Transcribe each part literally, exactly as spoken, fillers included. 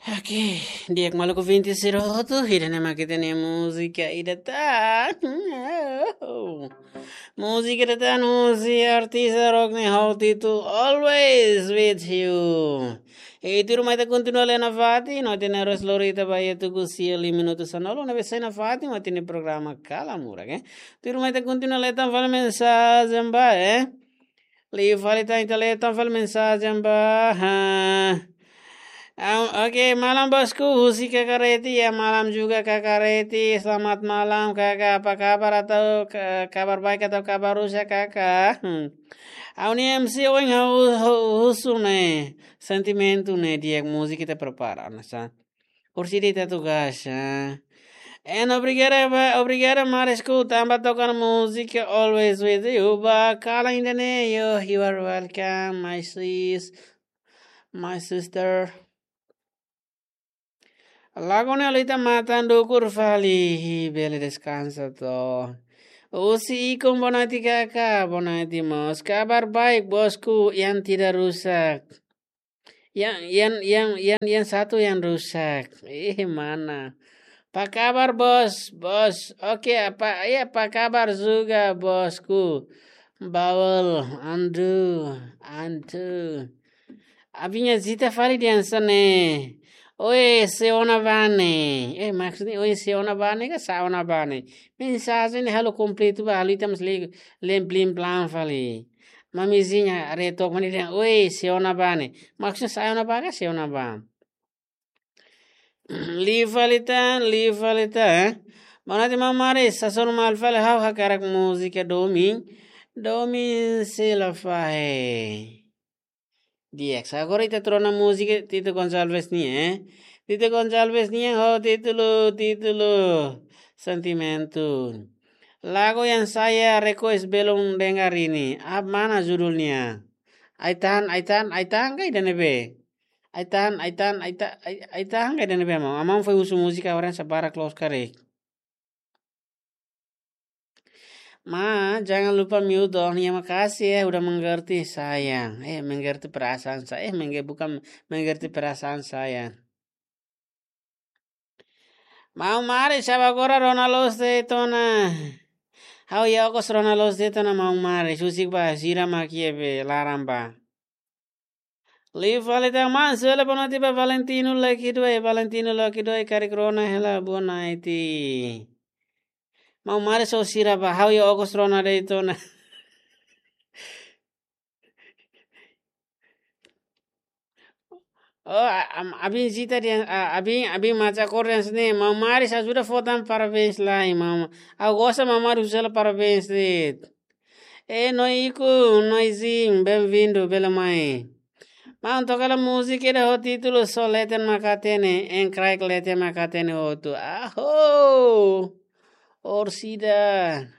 Oke, di'ak maluk ouvinte sira hotu, ida-ne'e mak ita-nia múzika ida tan. Múzika ida tan husi artista rock ne'e ho títulu Always With You. I tuirmai ita kontinua lee nafatin, no ita-nia relójiu lori ita ba iha tuku sia liu minutu sanulu, ne'ebé sai nafatin, ita-nia programa Kala Murak, eh. Tuirmai ita kontinua lee tan fali mensajen ba, eh. Liu fali tan ita lee tan fali mensajen ba, ha. Am, oke, malam bosku, husi Kaka Reti, ya malam juga Kaka Reti, selamat malam Kaka, apa kabar atau ka-, kabar baik atau kabar rusak Kaka? Hmm. Ha'u-nia M C ohin ha'u, ha'u husu ne'e, sentimentu ne'e di'ak múzika ita prepara, nasa. Kursi di tatu gasa. En obrigada ba, obrigada Marisku, tanba toka múzika Always With You, ba kalan ida-ne'e, yo, you are welcome, my sis, my sister. Lagu ne'e halo ita matan dukur fali, bele deskansa to. Husi Ikun, boa noite Kaka, boa noite mós. Kabar baik bosku, yang tidak rusak. Yang, yang, yang, yang, yang satu yang rusak. Eh, mana? Apa kabar bos? Bos, oke, apa, ya, apa kabar juga bosku? Bawel, andu, andu. Abin-nia zita fali dehan hanesan ne'e. Oe, sé ona ba ne'e? Eh, maksudnya, oe, sé ona ba ne'e ka sá ona ba ne'e? Mensajen ne'e halo kompletu ba, halo ita mós lee, lee plim plam fali. Mamizinha, are tok mani dehan, oe, sé ona ba ne'e? Maksudnya, sá ona ba ka sé ona ba? Liu fali tan, liu fali tan, eh? Boa noite, maun Maris, sasán malu fali ha'u hakarak múzika domin, domin sei la fahe. Di'ak, agora ita rona múzika Tito Gonçalves nian, eh? Tito Gonçalves nian ho títulu, títulu Sentimentu. Lagu yang saya request belum dengar ini. Apa mana judulnya? Ai-tahan, ai-tahan, ai-tahan ka ida-ne'ebé? Ai-tahan, ai-tahan, ai-ta-, ai-, ai-tahan ka ida-ne'ebé, maun? Maun foin husu múzika orang sabara close karik. Ma, jangan lupa mute dong. Ya, makasih ya udah mengerti sayang. Eh, mengerti perasaan saya. Eh, mengge-, bukan mengerti perasaan saya. Maun Maris, sá ba agora rona loos de'it ona. Ha'u iha okos rona loos de'it ona maun Maris. Husik ba sira mak iha be laran ba. Liu fali tan, maun, sele boa noite ba Valentino Lucky Doi, Valentino Lucky Doi, karik rona hela boa noite. Maun Maris ho sira ba, ha'u iha okos rona de'it ona. Oh, a-, am-, abin zita dehan, a-, abin, abin maca kor dehan hanesan ne'e, maun Maris ajuda fó tan parabéns lai, maun. Ha'u gosta maun Maris husu hela parabéns de'it. Eh, Noi Ikun, Noizin, bem-vindo, bele mai. Maun, toka hela múzika ida ho títulu Só Leten Mak Hatene, en kraik leten mak hatene hotu. Aho! Orsida.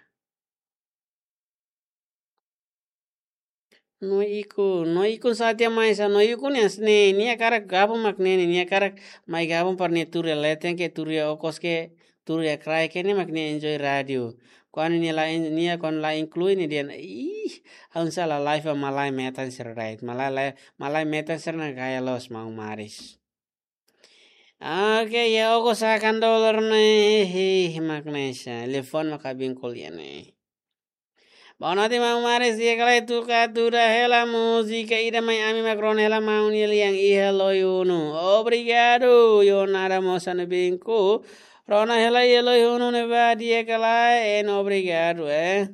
Noi Ikun, Noi Ikun sá tiha mai sá, Noi Ikun nian hanesan ne'e, nia hakarak gabung mak ne'e, nia hakarak mai gabung para nia tuur iha leten ke, tuur iha okos ke, tuur iha kraik ke, nia mak nia enjoy rádiu. Kuandu nia la en-, nia kuandu la inklui nia dehan, ih, ha'u sala live ba malae metan sira da'et. Malae, malae metan sira ne'e gaya loos maun Maris. Oke, iha okos hakan dolar ne'e, hehe, mak ne'e sá. Telefone mak abin ko'alia ne'e. Boa noite, maun Maris, di'ak ka lae, tuka tuda hela múzika ida mai ami mak rona hela maun nia lian iha Loi-Unu. Obrigadu, yo nada mosa ne binku. Rona hela iha Loi-Unu ne'ebá di'ak ka lae, en obrigadu, eh.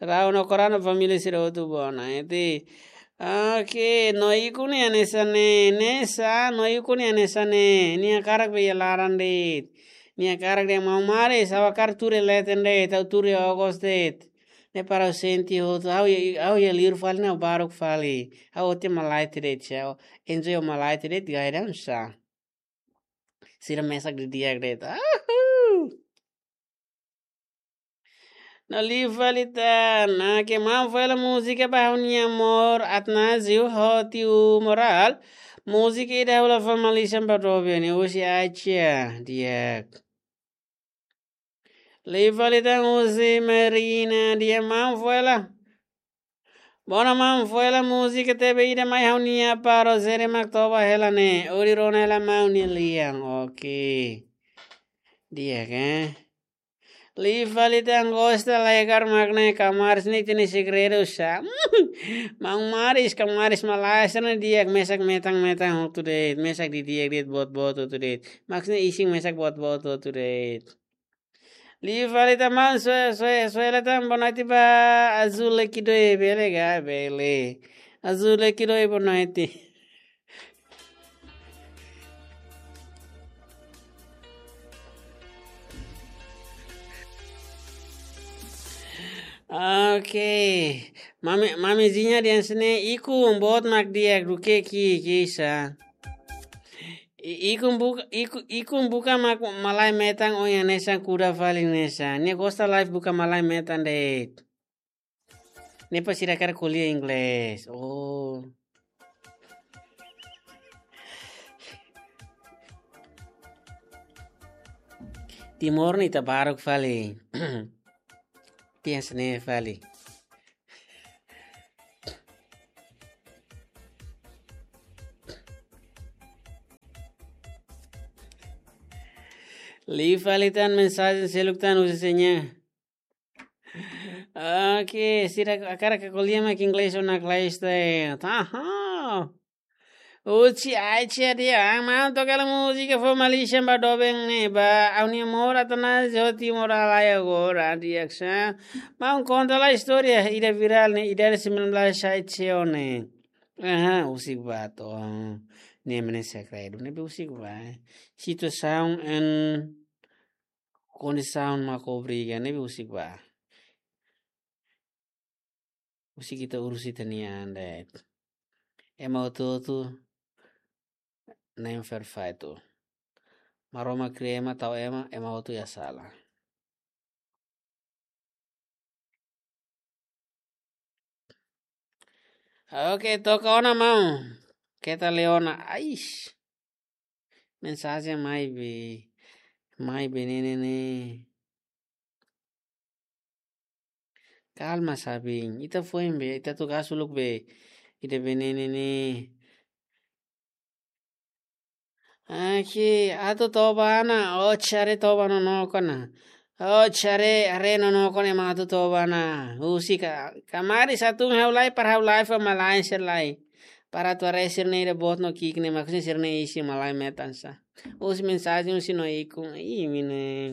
Rau no korana família sira hotu boa noite. Oke, Noi Ikun nian hanesan ne'e, ne'e sá, Noi Ikun nian hanesan ne'e. Nia hakarak be iha laran de'it. Nia hakarak dehan maun Maris, ha'u hakarak tuur iha leten de'it, ha'u tuur iha okos de'it. Ne'e para ha'u sente hotu, ha'u iha, ha'u iha liur fali ne'e baruk fali. Ha'u hotu malae de'it, ha'u enjoy malae de'it, gaya dehan sá. Sira mesak didi'ak de'it. Ahu! No liu fali tan, ah, ke maun fó hela múzika ba ha'u-nia amór Atnazio ho tiu Moral. Múzika ida ha'u la fó malisan ba doben, husi Acha, di'ak. Liu fali tan husi Marina, di'ak, maun fó hela. Bona maun, foin hela múzika T V ida mai ha'u-nia para Rosere mak toba hela ne'e. Hodi rona hela maun nia lian. Oke. Di'ak, eh. Liu fali tan gosta lekar mak ne'e, kamaris ne'e ita-nia segredu sá. Maun Maris, kamaris malae sira ne'e di'ak, mesak metan-metan hotu de'it, mesak didi'ak de'it, boot-boot hotu de'it. Mak ne'e isin mesak boot-boot hotu de'it. Liu fali tan maun, soe, soe, soe la tan, boa noite ba Azul Lekidoe, bele ka, bele. Azul Lekidoe, boa noite. Oke. Mami, mamizinha dehan hanesan ne'e, ikun boot mak di'ak duké ki'ik sá. I-, ikun buka, iku-, ikun buka mak malae metan, ohin hanesan kuda fali hanesan. Nia gosta live buka malae metan de'it. Ne'e para sira hakarak ko'alia inglés. Oh. Timor ne'e ita baruk fali. Tias ne fali. Liu fali tan mensajen seluk tan husi seña. Oke, sira hakarak ko'alia mak inglés ona klais te. Taha. Husi Aichi dehan, maun toka hela múzika fó Malaysia ba doben ne'e ba, ha'u-nia amor Atanasio Timor alai agora, di'ak sá. Maun konta lai istória ida virál ne'e, ida sembilan belas Aichi ne'e. Aha, husik ba to'o. Ne'e mene segredu, ne'ebé husik ba. Situasaun en kondisaun mak obriga, ne'ebé husik ba. Husik ita urus ita-nia an de'it. Ema hotu-hotu na'in perfeitu. Maromak kria ema, tau ema, ema hotu iha sala. Oke, toka ona maun. Keta leona, ais. Mensajen mai be, mai be ne'e ne'e ne'e. Kalma, Sabin. Ita foin be, ita tugas uluk be. Ida be ne'e ne'e ne'e. Aki, atu toba ona, o cari toba no no kona. O cari are no no kona ema atu toba ona. Husik ka, kamaris atu ha'u lai para ha'u lai fó malae sira lai. Para atu haree sira-ne'e ida boot no ki'ik ne'e, maksudnya sira-ne'e isin malae metan sá. Husi mensajen husi no ikun. Ih, mine.